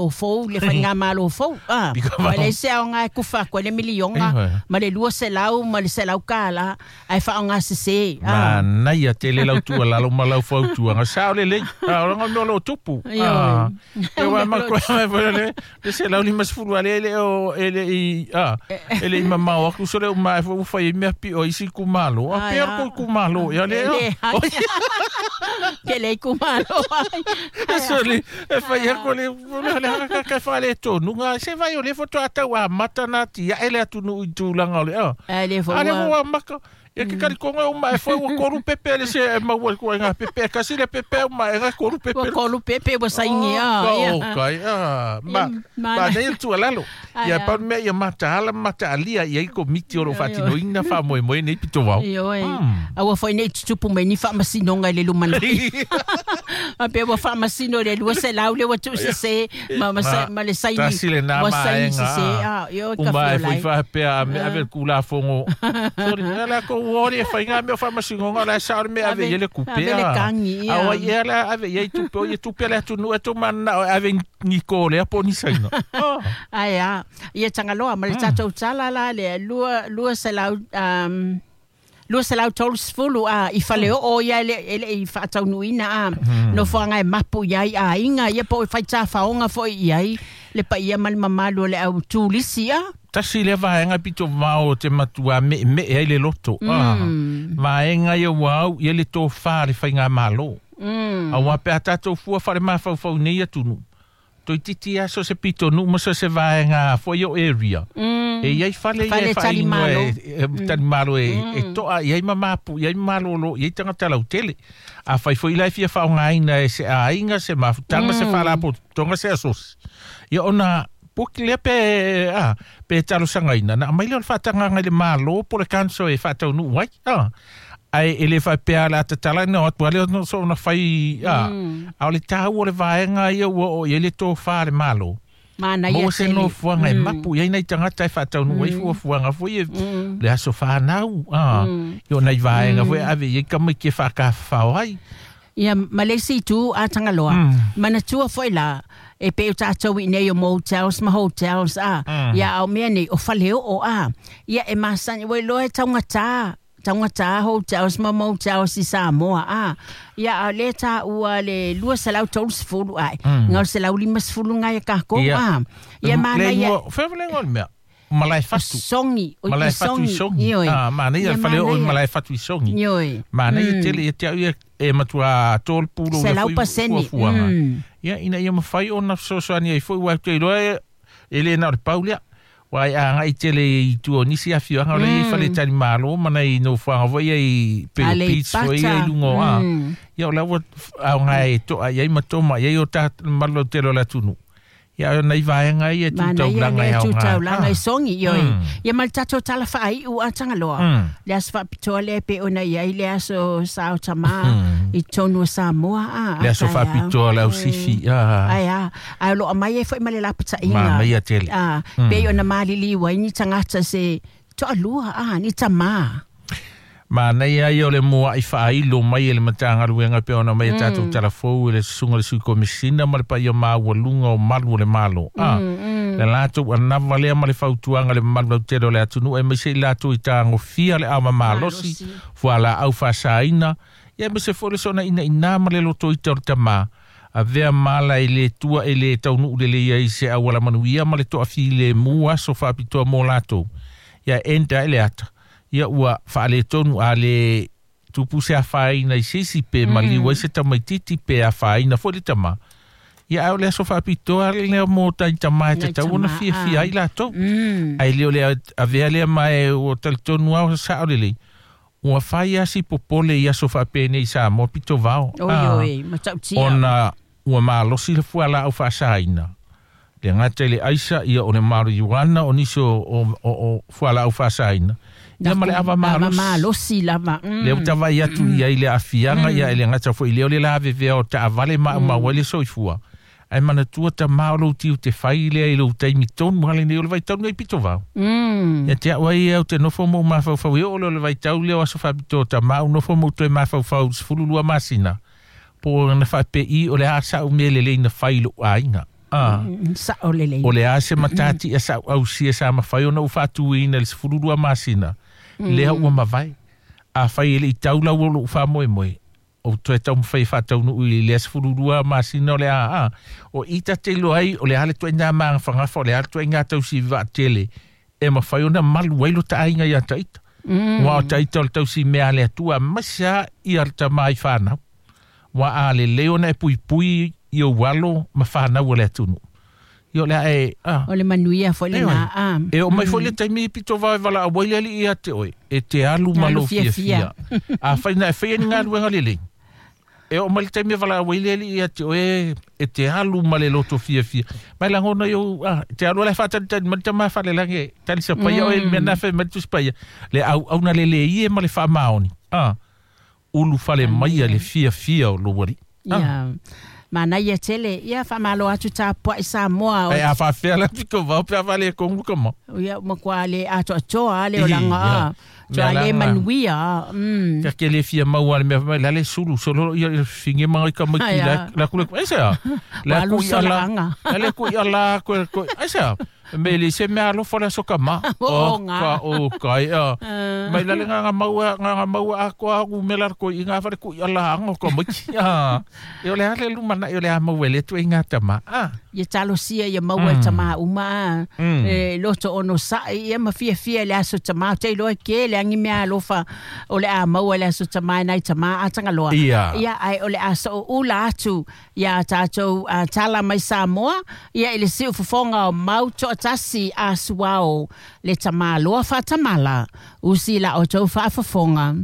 Fou le faigamalo fou a ma le se aoga e kufa atu ai le miliona ma le 200 ma le $100 ae faaaogasesē a. Manaia tele lau tuualalo ma lau fautuaga sao lelei a o laga mea o loo tupu a e ua ma foi le 150 ale e le o e le i a e le i mamao atu so le uma e foi ua fai ai mea pio isi itumalo a pea o le itumalo ia le Ke le itumalo ai. Soli, e fai aku le le ka fa le tonu nga se vai o le foto atau a mata na ti e le atu nu i tulaga o le a. Ai le fo. Ale ua maka. Ia ke kari konga o mai foi ua koru pepe le se e mau ko nga pepe kasi le pepe o mai nga koru pepe. Ua koru pepe ua saini a. O kai a ma ma nei tu alalo. Ia pa me ia mata ala mata alia ia i komiti o lo faatinoina faamoemoe nei pito vao. Ioe. A ua foi nei tutupu mai ni faamasinoga i le lumanai. A pe ua faamasino le 200 le ua tuusesē ma ma ma le saini. Tasi lena Ua saini maega. sesē a ioe Uma ka e foi fiolai. faapea a me ave le kulafogo. Sorry, ala ko ua e faiga mea o faamasinoga o la e sao le mea ave i ai le kupe Ave le a. kagi A ia. o ai ea la ave i ai tupe o ia tupe a le atunuu e taumananao e ave ni ko lea po o ni saina. Oh. Ai a ia Tagaloa ma le tatou tala la le lua 230 a i faleoo ia e le i faataunuuina a nofoaga e mapu iai aiga ia po o faitafaoga foi i ai le paia ma le mamalu o le au tulisi a. Tasi lea vaega pito vao o te matua me me e ai le loto. Ah. Vaega ia ua au ia le tofā le faigamālō. Auā pe a tatou fua faale-mafaufau nei atunuu. Toeitiiti lava so se pitonuu ma so se vaega foi o area. E iai fale ia Fale e faainoa talimalo. e talimalo e toa i ai ma mapu i ai ma malōlō i ai tagata lautele. A fai foi la e fia faaaogaina e se aiga se mafutaga se faalapotopotoga se asosi. Ia ona puki lea pe a pe talosagaina na aumai lea o le faatagaga i le mālō po o le council e faataunuu ai a. Ae e le faapea o le a tatala ina o atu a lea ona so ona fai a. A o le taua o le vaega ia ua oo i ai le tofā le mālō. Manaia Maua se tele. nofoaga e mapu i ai nai tagata e faataunuu ai fuafuaga foi e le aso fanau a. I o nai vaega foi e ave i ai tamaiti e faakafafao ai. Ia ma le isi itu a Tagaloa. Manatua foi la e pe o tatou i nei o motels ma hotels a. Ia au mea nei o faleoo a. Ia e masani ua iloa e taugata taugata hotels ma motels i Samoa a. Ia a o lea taua le 230 ae. Ga o le 150 gai a kākou Ia. a. Ia Le manaia igoa, fea le igoa o le mea? Malae fatu. Songi, o Malae i fatu i Songi. Songi. Ioe. Ah, manaia Ia le faleoo i manaia. Malae fatu i Songi. Ioe. Manaia tele ia te au ia e matua tolu pulo ia Selau foi paseni. fuafuaga. Ia ina ia mafai ona fesoasoani ai foi ua te iloa e e le na o le pau lea. Ua e agai tele i tua o nisi afioaga o lea i fale talimalo ma nai nofoaga foi ia i Peo Beach foi ia i Aleipata. luga o a. Ia o la ua aoga e toa i ai ma toma i ai o ta mamalu lautele o le atunuu. Ia o nai vaega ia e Manaia tutaulaga e le aoga. tutaulaga i Ah. Songi, ioe. Ia ma le tatou tala faaiu a Tagaloa. Le aso faapitoa lea pe ona i ai le aso sao tamā i tonu o Samoa a. Le aso a taeao. faapitoa le ausifi. Ah. Ai a, ae o loo aumai ai foi ma le lapataiga. Manaia tele. A, pei ona maliliu ai ni tagata se toalua a, ni tamā. Manaia ia o le mua'i faailo mai e le Matagaluega pe ona mai e tatou talafou e le susuga le sui komisina ma le paia maualuga o malu o le Malo. A, le latou anava lea ma le fautuaga le mamalu lautele o le atunuu e maise i latou i tagofia le ava malosi, Malosi. fualaau faasaina, ia aemaise foi le soona inainā ma le lotoita o le tamā. Avea mala e le tua e le taunuu lelei ai se auala manuia ma le toafilemu aso faapitoa mo latou. Ia enda e le ata. Ia ua faaletonu a le tupu se afaina i se isi pe maliu ai se tamaititi pe afaina foi le tamā. Ia ae o le aso faapitoa lea mo tai tamā e Nai tatau ona tamā, fiafia a. ai latou. Ae le o le avea lea ma e ua talitonu lava sao lelei. Ua fai asi popole i aso faapenei i Samoa pito vao. Oi Ah, oi, matautia. ona ua malosi le fualaau faasaina. Le gata i le aisa ia o le marijuana o nisi o fualaau faasaina. Ia ma le ava Ava malosi. malosi lava. Lea ua tavai atu i ai le aafiaga ia e le gata foi i lea o le lavevea o taavale maumau ai le soifua. Ae manatua tamā o lou tiu te fai lea i lou taimi tonu ale nei o le vaitau nei pito vao. Ia te au ai au te nofo mo mafaufau e oo lea o le vaitau lea o aso faapitoa tamā u nofo mo toe mafaufau 12 masina. Po o na faapei o le a sa'u mea lelei na fai i lou aiga. Sa'o lelei. O le a se matati ia sa ausia sa mafai ona ou faatuina i le 12 masina, lea ua mavae. Afai e le i tau lau o lou faamoemoe, ou toe taumafai e faataunuu i lea 12 masina o le a o i ta te iloa ai o le a le ituaiga magafagafa, o le a le ituaiga tausi vaatele e mafai ona malu ai lo taaiga ia taita. Ua o taita o le tausi mea a le Atua, aemaise lava ia le tama i fanau. Ua a lelei ona e puipui i ou alo ma fanau a le atunuu. Ia o le a e, a. O le manuia foi lena, a. E oo mai foi le taimi pito vave valaau ai le alii ia te oe, e te alu ma lou fiafia. Afai na e faia ni galuega lelei, e oo mai le taimi e valaau ai le alii ia te oe, e te alu ma le loto fiafia. Mai lagona i ou, a, te alu ala e faatalitali mai le tama falelagi e talisapaia oe i le mea na fai mai le Tusi Paia, le auauna lelei e ma le faamaoni, a, ulufale maia le fiafia o lou alii. Ia, manaia tele. Ia, faamalo atu tapuai Samoa. Ai a faafefea la pito vao pe a faaletonu ka mau. Ia, matua le atoatoa a le olaga a. Toa le manuia a. Ta te le fia maua le mea mai la le sulu solo ia finge mai ka mai la la kule ai se la ku ia la la le ku ia la ko ko ai se me le se mea alofa le aso ka ma o ka o ka ia mai la le nganga maua nganga maua a ko a ku me la ko i ngā whare ku i ala anga ko mai a e o le ale lumana e o le a maua le tu i ngā tama a Ia talosia ia maua e tama uma a e loto ono sa'i ia ma fiafia le aso tama te iloa ke le angi mea alofa o le a maua le aso tama e nai tama a Tagaloa ia ai o le a so'o ula atu ia tatou tala mai Samoa ia i le siufofoga o mau toatasi a suao le tamaloa faatamala usi la outou faafofoga.